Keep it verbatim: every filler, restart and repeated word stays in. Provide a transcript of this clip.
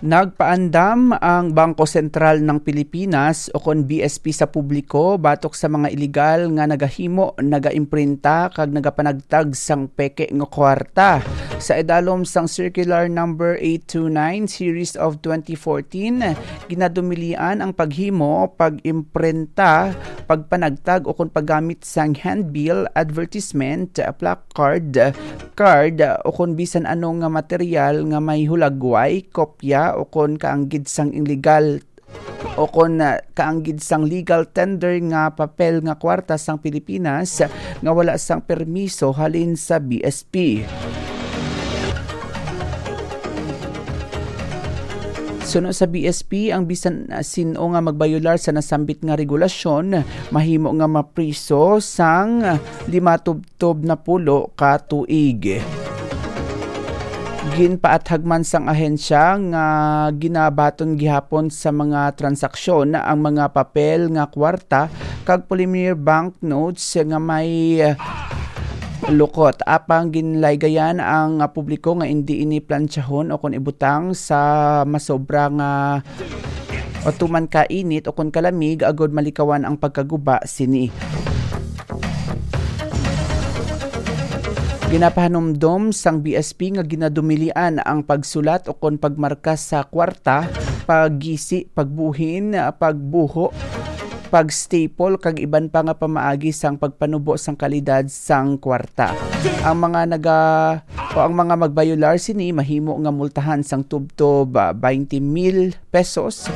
Nagpaandam ang Bangko Sentral ng Pilipinas, o kon B S P, sa publiko batok sa mga iligal nga nagahimo, nagaimprinta, kag nagapanagtag sang peke nga kwarta. Sa idalom sang Circular Number eight two nine, Series of twenty fourteen, ginadumilian ang paghimo, pag-imprenta, pagpanagtag, o kon paggamit sang handbill, advertisement, placard, card, o kon bisan ano nga material nga may hulagway, kopya, o kon kaanggid sang illegal, o kon, ah, kaanggid sang legal tender nga papel nga kwarta sang Pilipinas nga wala sang permiso halin sa B S P. Suno sa B S P, ang bisan, ah, sin-o nga magbayular sa nasambit nga regulasyon mahimo nga mapriso sang lima tubtob na pulo ka tuig. Ginpaathag man sang ahensya nga ginabaton gihapon sa mga transaksyon ang mga papel nga kwarta kag polymer banknotes nga may, ah, lukot. Apang ginlaygayan ang, ah, publiko nga indi ini plantsahon o kon ibutang sa masobra nga o tuman ka init o kon kalamig, agod malikawan ang pagkaguba sini. Ginapahanumdom sang B S P nga ginadumilian ang pagsulat o kon pagmarka sa kwarta, paggisi, pagbuhin, pagbuho, pag-staple, kag iban pa nga pamaagi sang pagpanubo sang kalidad sang kwarta. Ang mga naga-, o ang mga magbayular sini mahimo nga multahan sang tubtob, ah, twenty mil pesos